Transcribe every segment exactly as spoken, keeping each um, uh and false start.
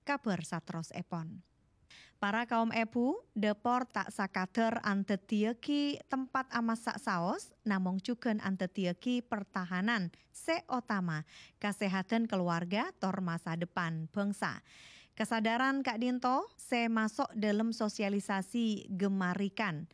Kabhâr saterrossèpon. Para kaum èbhu, dâpor ta' sakadhâr andhâddhiyâghi tempat amassa' saos, namong jhughân andhâddhiyâghi pertahanan sè otama, kasèhadhân kaluwarga tor masa depan bhângsa. Kasadhârân ka'dinto sè maso' dâlem sosialisasi gemarikan.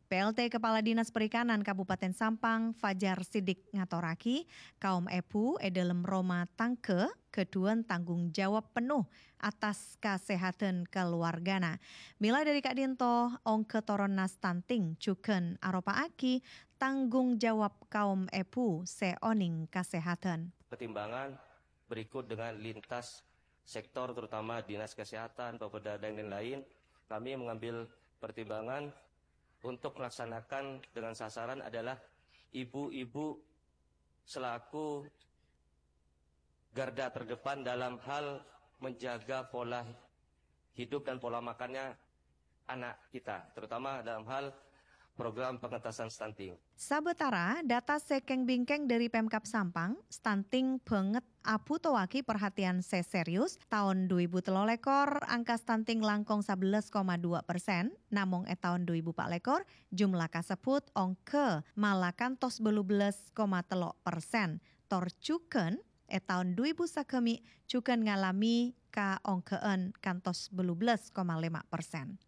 P L T Kepala Dinas Perikanan Kabupaten Sampang, Fajar Sidik ngatorraghi, kaum èbhu è dâlem roma tangghâ ghâdhuwân tanggung jawab penno attas kasèhadhân kaluwargana. Mèla dâri ka'dinto, ongghâ toronna stunting jhughân aropa'aghi tanggung jawab kaum èbhu sè onèng kasèhadhân. Pertimbangan berikut dengan lintas sektor, terutama Dinas Kesehatan, Bapeda, dan lain-lain. Kami mengambil pertimbangan untuk melaksanakan dengan sasaran adalah ibu-ibu selaku garda terdepan dalam hal menjaga pola hidup dan pola makannya anak kita, terutama dalam hal program pengentasan stunting. Sabâtara, data sè kèng-bingkèng dâri Pemkab Sampang, stunting bângèt abhutowaghi perhatian sè serius. Taon dhu èbu tello lèkor, angka stunting langkong sabellâs koma dua persen, namong è taon dhu èbu pa' lèkor, jumlah kasebbhut ongghâ mala kantos bâllu bellâs koma tello persen. Tor jhughân, è taon dhu èbu sagâmè' jhughân ngalamè kaongghâ'ân kantos bâllu bellâs koma lèma persen.